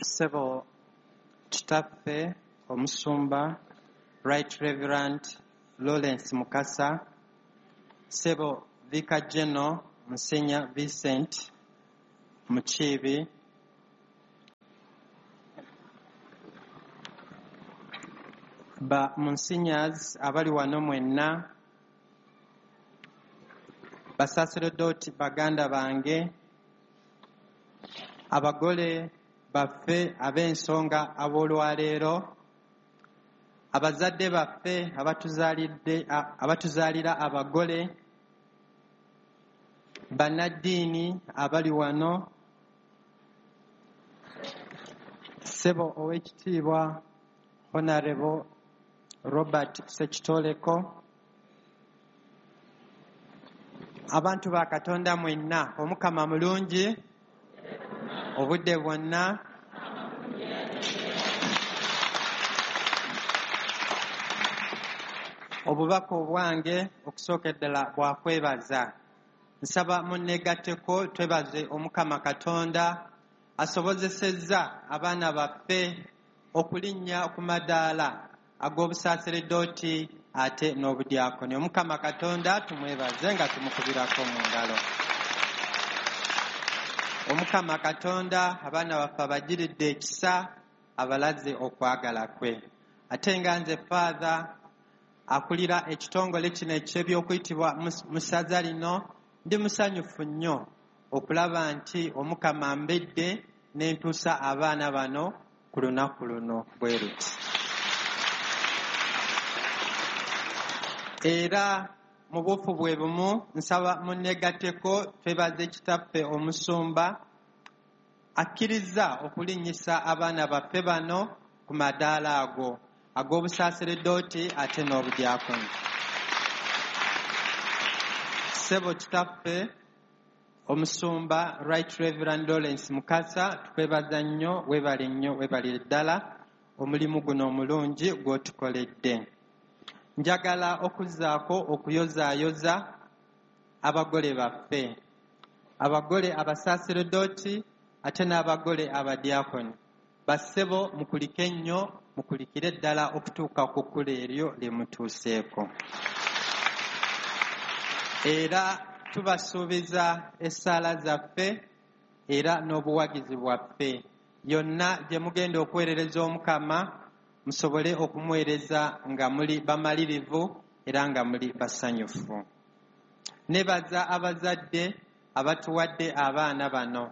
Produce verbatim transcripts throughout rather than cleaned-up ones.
Ssebo Kitaffe Omusumba Right Reverend Lawrence Mukasa, Ssebo Vicar General Monsignor Vincent Mukiibi, ba Monsignors abali wano mwenna, basaseredooti baganda bange, abagole baffe ab'ensonga ab'olwaleero, abazadde baffe abatuzaalidde, abatuzaalira abagole, bannaddiini abali wano, ssebo ow'ekitiibwa Honorable Robert Ssekitoleko, abantu ba Katonda mwenna, Omukama mulungi obudde bwonna. Obubaka obwange okusooka ddala bwa kwebaza. Nsaba munneegatteko twebaze Omukama Katonda asobozesezza abaana baffe okulinnya ku madaala ag'obusaaseredooti ate n'obudyakoni. Omukama Katonda tumwebaze nga tumukubirako mu ngalo. Omukama Katonda abaana baffe abagiridde ekisa, abalaze okwagala kwe. Ate nga nze Father akulira ekitongole kino eky'ebyokuyitibwa mu ssaza lino, ndi musanyufu nnyo okulaba nti Omukama mbedde ne ntuusa abaana bano ku lunaku luno bwe luti. Era mu buufu bwe bumu nsaba munneegatteko twebaze Kitaffe Omusumba akkirizza okulinnyisa abaana baffe bano ku madaala ago ag'obusaaseredooti ate n'obudyakoni. Ssebo Kitaffe Omusumba Right Reverend Lawrence Mukasa, tukwebaza nnyo, weebale nnyo, weebalire ddala omulimu guno omulungi gw'otukoledde. Njagala okuzzaako okuyozaayoza abagole baffe, abagole abasaaseredooti ate n'abagole abadyakoni. Bassebo mukulike nnyo, mukulikire ddala okutuuka ku kkula eryo lye mutuuseeko. Era tubasuubiza essaala zaffe era n'obuwagizi bwaffe. Yonna gye mugenda okuweerereza Omukama, musobole okumuweereza nga muli bamalirivu era nga muli basanyufu. Nebaza abazadde abatuwadde abaana bano,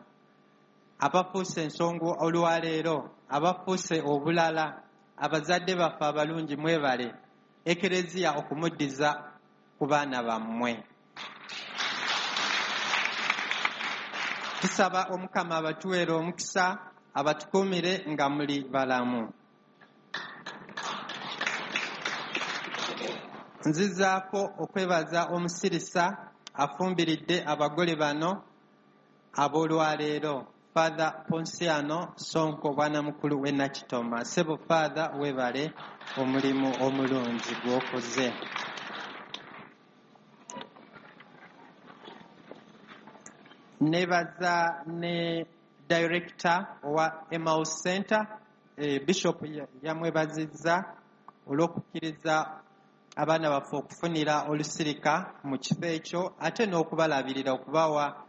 abafuuse ensonga olwaleero, abafuuse obulala. Abazadde baffe abalungi mwebale Ekereziya okumuddiza ku baana bammwe. Tusaba Omukama abatuweere omukisa, abatukuumire nga muli balamu. Nzizaako okwebaza omusirisa afumbiridde abagole bano ab'olwaleero, Father Ponsiano Sonko, bwanamukulu w'e Nakitoma. Ssebo Father, weebale omulimu omulungi gw'okoze. Nebaza ne director owa Emmaus Center, eh, Bishop yamwebazizza olw'okukkiriza abaana baffe okufunira olusirika mu kifo ekyo, ate n'okubalabirira, okubawa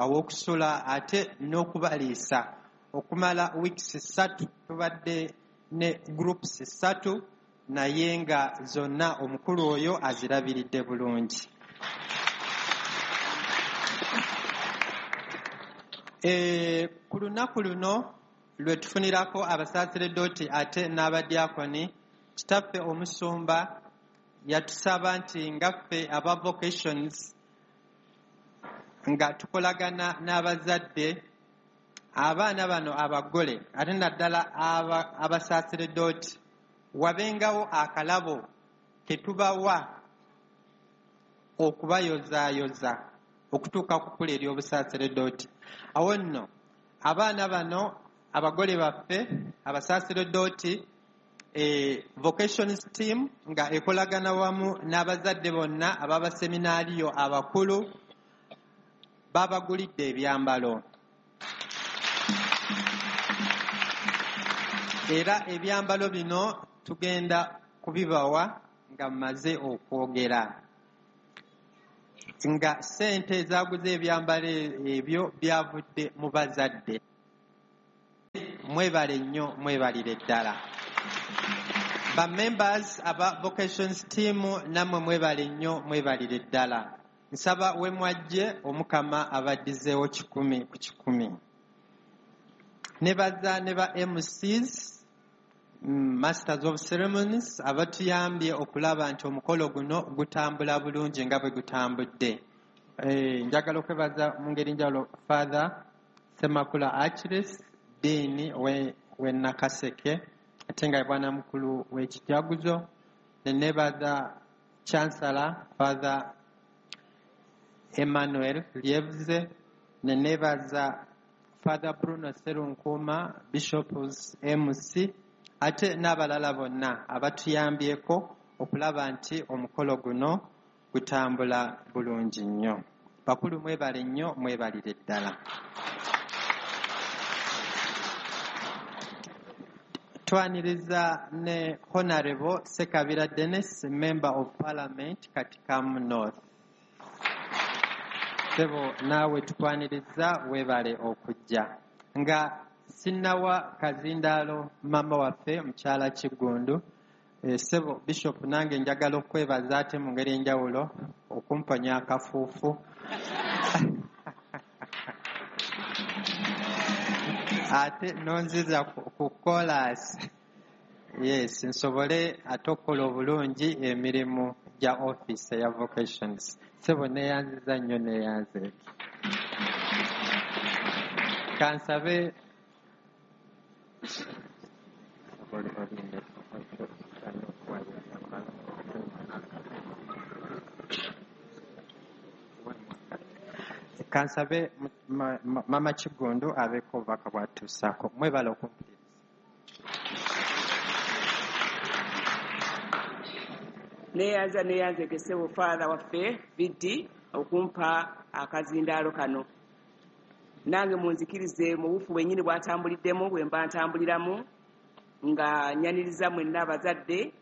aw'okusula ate n'okubaliisa okumala weeks ssatu. Tubadde ne groups ssatu naye nga zonna omukulu oyo azirabiridde bulungi. E, ku lunaku luno lwe tufunirako abasaaseredooti ate n'abadyakoni, Kitaffe Omusumba yatusaba nti nga ffe aba vocations nga tukolagana n'abazadde, abaana bano abagole ate naddala abasaaseredooti, wabengawo akalabo ke tubawa okubayozaayoza okutuuka ku kkula ery'obusaaseredooti. Awo nno abaana bano abagole baffe abasaaseredooti, e, vocations team nga ekolagana wamu n'abazadde bonna ab'abaseminaariyo abakulu, babagulidde ebyambalo. Era ebyambalo bino tugenda kubibawa nga mmaze okwogera. Nga ssente ezaaguza ebyambalo ebyo byavudde mu bazadde. Mwebale nnyo, mwebalire ddala. Ba members aba vocations team nammwe mwebale nnyo, mwebalire ddala. Nsaba we mwajje Omukama abaddizeewo kikumi ku kikumi. Nebaza ne ba M Cs, Masters of Ceremonies, abatuyambye okulaba nti omukolo guno gutambula bulungi nga bwe gutambudde. Eh, njagala okwebaza mu ngeri njawulo Father Ssemakula Achilles, Dean we, we Nakaseke, ate nga ye bwana mukulu w'ekijaguzo. Ne nebaza Chancellor Father Emmanuel Lievze, ne nebaza Father Bruno Sserunkuma, Bishops M C, ate n'abalala bonna abatuyambyeko okulaba nti omukolo guno gutambula bulungi nnyo. Bakulu mwebale nnyo, mwebalire ddala. Twaniriza ne Honorable Ssekabira Dennis, Member of Parliament, Katikamu North. Ssebo naawe tukwaniriza, weebale okujja. Nga sinnawa kazindaalo maama waffe mukyala Kiggundu, eh, ssebo Bishop nange njagala okwebaza ate mu ngeri enjawulo okumponya akafuufu. Ate nonziza ku chorus. Yes, nsobole ate okukola obulungi emirimu gya office eya vocations. Ssebo neeyanziza nnyo, neeyanze. Kansabe Kansabe Mama Kiggundu abeeko obubaka bw'atuusaako. Mwebale okumpuliriza. Neeyanza, neeyanze ssebo Father waffe Biddi okumpa akazindaalo kano. Nange munzikirize mu bufu bwennyini bw'atambuliddemu bwe mba ntambuliramu, nga nyaniriza mwenna abazadde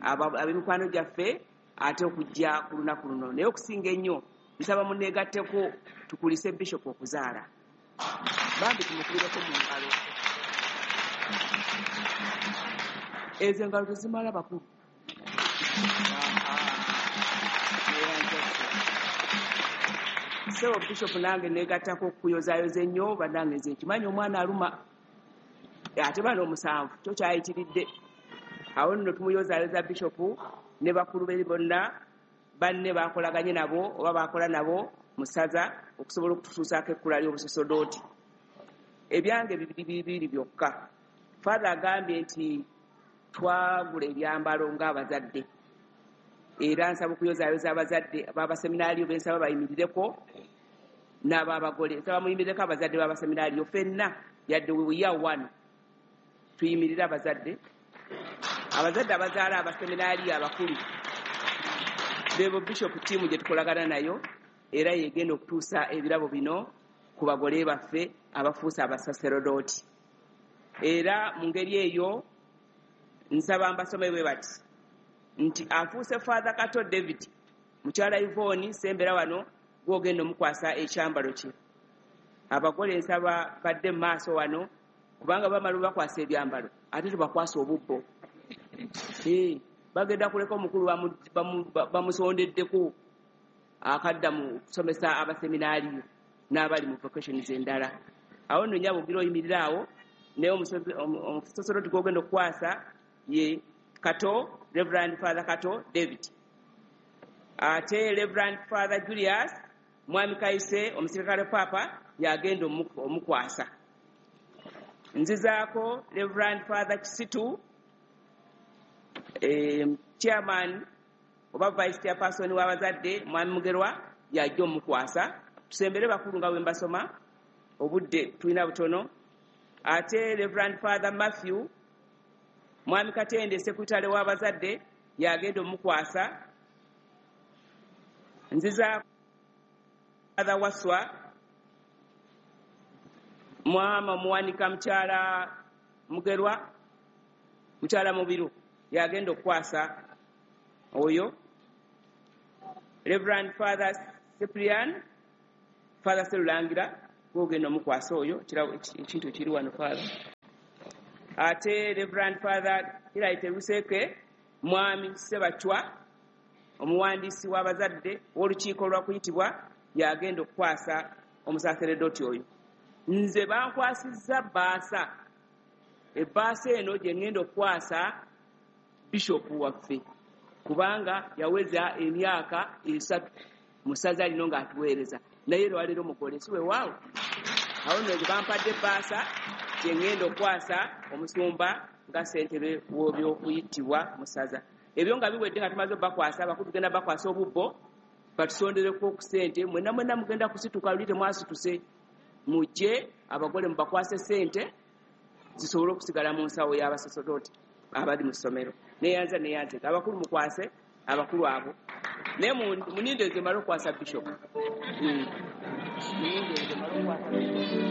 ab'emikwano gyaffe ate okujja ku lunaku luno. Naye okusinga ennyo nsaba munneegatteko tukulise Bishop okuzaala. Bambi tumukubireko mu ngalo. Ezo engalo tezimala bakulu. Ssebo Bishop nange neegattako okukuyozaayoza ennyo, bannange nze nkimanyi omwana aluma ate bano omusanvu kyo kyayitiridde. Awo nno tumuyozaayoza Bishop ne bakulu be bonna banne bakolaganye nabo oba bakola nabo mu ssaza okusobola okututuusaako ekkula ly'obusosodooti. Ebyange bibiri bibiri byokka. Father agambye nti twagula ebyambalo ng'abazadde, era nsaba okuyozaayoza abazadde b'abaseminaaliyo be nsaba bayimirireko n'ab'abagole. Nsaba muyimirireko abazadde b'abaseminaaliyo ffenna, yadde we are one, tuyimirire abazadde. Abazadde abazaala abaseminaaliyo abakulu bebo Bishop team gye tukolagana nayo, era yegenda okutuusa ebirabo bino ku bagole baffe abafuuse abasaserodooti. Era mu ngeri eyo nsaba mbasome bwe bati nti afuuse Father Kato David, mukyala Yvonne sembera wano gw'ogenda omukwasa ekyambalo kye. Abagole nsaba badde mu maaso wano, kubanga bamala bakwasa ebyambalo ate tubakwasa obubbo. Eh, bagenda kuleka omukulu bamusondeddeko akadda mu kusomesa abaseminaaliyo n'abali mu vocations endala. Awo nno nnyabo ogira oyimirira awo, naye omusosoloti gw'ogenda okukwasa ye Kato, Reverend Father Kato David. Ate Reverend Father Julius Mwami Kayise omusirikale Papa yagenda omukwasa. Nzizaako Reverend Father Kisitu, eh, chairman oba vice chairperson w'abazadde Mwami Mugerwa yajja omukwasa. Tusembere bakulu nga bwe mbasoma, obudde tulina butono. Ate Reverend Father Matthew Mwami Katende secretary w'abazadde yagenda omukwasa. Nziza Father Waswa Mwama Muwanika mukyala Mugerwa Mukyala Mubiru yagenda okukwasa oyo. Reverend Father Cyprian, Father Serulangira, gwogenda omukwasa oyo, ekintu kiri wano Father. Ate Reverend Father Hilary Teruseke, Mwami Sebachwa, omuwandiisi w'abazadde w'olukiiko lwa kuyitibwa, yagenda okukwasa omusaseredoti oyo. Nze bankwasizza bbaasa. Ebbaasa eno gye ŋŋenda okukwasa bishopu waffe, kubanga yaweza emyaka esatu mu ssaza lino ng'atuweereza, naye lwaleero mugole, si weewaawo. Awo nno nze bampadde ebbaasa gye ŋŋenda okukwasa omusumba nga ssentebe w'ebyokuyitibwa mu ssaza. Ebyo nga biwedde nga tumaze obbakwasa, abakulu tugenda bakwasa obubbo batusondereko ku ssente. Mwenna mwenna mugenda kusituka, luli temwasituse, mujje abagole mubakwase ssente zisobole okusigala mu nsawo y'abasaserdooti abali mu ssomero. Neyanza neyanzeka, abakulu mukwase abakulu abo, naye muninde nze male okukwasa bishop. Muninde nze male okukwasa bishop.